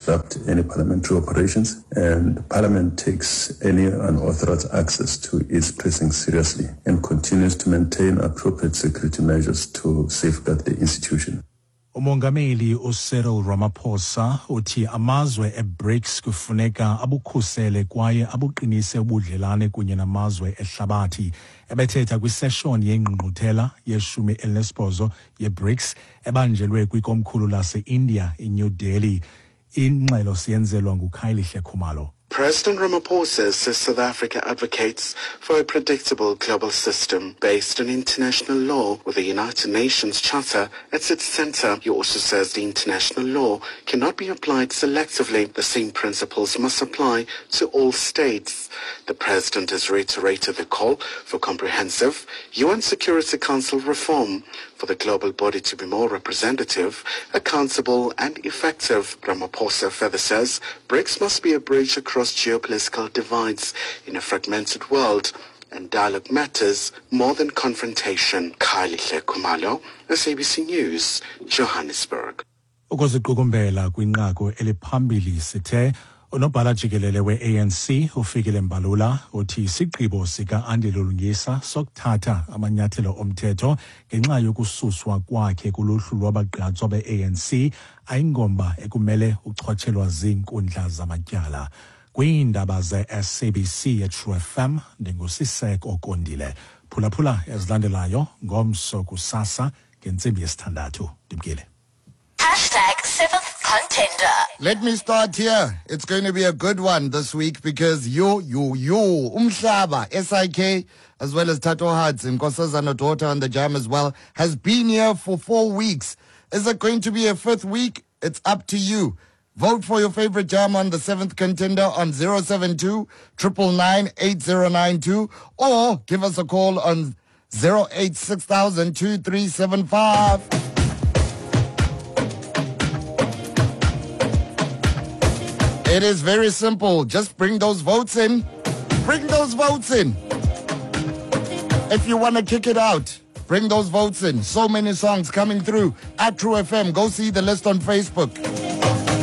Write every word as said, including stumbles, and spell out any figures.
disrupt any parliamentary operations, and Parliament takes any unauthorized access to its precincts seriously and continues to maintain appropriate security measures to safeguard the institution. Umongameli uCyril Ramaphosa uthi amazwe eBRICS kufuneka abukhusele kwaye abuqinise ubudlelane kunye namazwe ehlabathi. Ebethetha kwiseshoni yengqungquthela yeshumi elinesibhozo yeBRICS ebanjelwe kwikomkhulu lase-India iNew Delhi. Ingxelo siyenzelwa nguKhayelihle Khumalo. President Ramaphosa says South Africa advocates for a predictable global system based on international law with the United Nations Charter at its center. He also says the international law cannot be applied selectively. The same principles must apply to all states. The president has reiterated the call for comprehensive U N Security Council reform for the global body to be more representative, accountable and effective. Ramaphosa further says BRICS must be a bridge across geopolitical divides in a fragmented world, and dialogue matters more than confrontation. Khayelihle Khumalo, S A B C News, Johannesburg. Ukuziqukumbela kwinqaku eliphambili sithe unobhala jikelele we-A N C uFikile Mbalula uthi isigqibo sika-Andile Lungisa sokuthatha amanyathelo omthetho ngenxa yokususwa kwakhe kuluhlu lwabagqatswa be-A N C ayingomba ekumele uchotshelwa ziinkundla zamatyala. Kwiindaba ze-S A B C eTrue F M ndinguSiseko Kondile. Phulaphula ezilandelayo ngomso kusasa ngentsimbi yesithandathu. Ndimkile. Hashtag seventh contender. Let me start here. It's going to be a good one this week because yo, yo, yo, Umhlaba, S I K, as well as Tato Hudson, Nkosazana Daughter on the Jam as well, has been here for four weeks. Is it going to be a fifth week? It's up to you. Vote for your favorite jam on the seventh contender on zero seven two, triple nine, eight zero nine two or give us a call on zero eight six thousand two three seven five. It is very simple. Just bring those votes in. Bring those votes in. If you wanna kick it out, bring those votes in. So many songs coming through at True F M. Go see the list on Facebook.